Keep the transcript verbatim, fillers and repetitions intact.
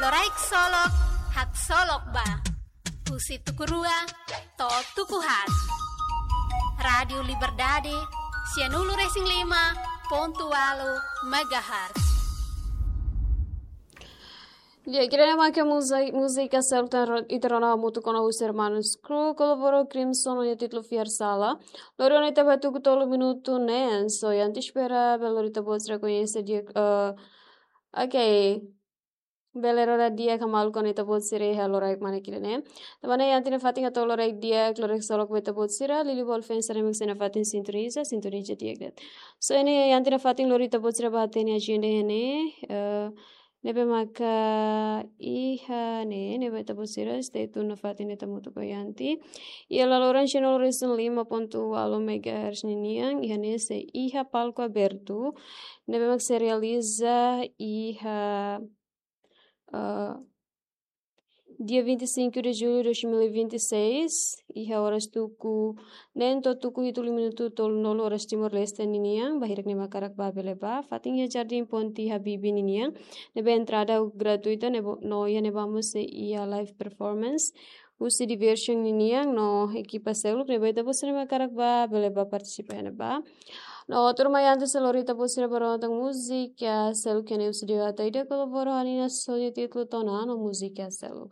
Loraik Solok, Haksolok Ba. Husi tuku rua to'o tuku haat. Rádiu Liberdade, sianulu-resin-lima pontu ualu megahertz. Di'ak, ida-ne'e mak múzika, múzika seluk tan ro-, ita rona hamutuk ona husi Hermanos Crew, kolaboradu ho Crimson, ho nia títulu Fiar Sala. Lori ona ita ba tuku tolu minutu neen, so iha ita espera, bele lori ita-boot sira koñese di'ak, eh, ok. Bele rona di'ak ka maluk ona ita-boot sira iha loraik mane kile ne. Tanba ne'e iha ita-nia fatin hato'o loraik di'ak, loraik solok ba ita-boot sira, liuliu ba ita-boot sira ne'ebé mak sei nafatin sintoniza, sintoniza di'ak de'it. So ne'e iha ita-nia fatin lori ita-boot sira ba hatene ajenda iha ne'e, eh, ne'ebé maka iha ne'e, ne'ebé ita-boot sira stay tune nafatin ne'e ita hamutuk ho iha ita. Iha laloran sianulu-resin-lima pontu ualu megahertz ninian, iha ne'e sei iha palku abertu, ne'ebé mak sei realiza iha, eh, dia vinte e cinco de julho de dois mil e vinte e seis, iha oras tuku neen to'o tuku hitu liu minutu tolunulu oras Timor-Leste ninian, ba hirak ne'ebé hakarak ba bele ba, fatin iha Jardín Ponte Habibie ninian, ne'ebé entrada gratuita, ne'ebé, no iha ne'ebá mós sei iha live performance husi Diversion ninian, no ekipa seluk, ne'ebé ita-boot sira ne'ebé hakarak ba, bele ba partisipa iha ne'ebá. No tuirmai antes de lori ita-boot sira ba rona tan múzika seluk ne'e husi Dewata Ida kolaboradu ho Nina Sony, títulu Tona, no múzika seluk.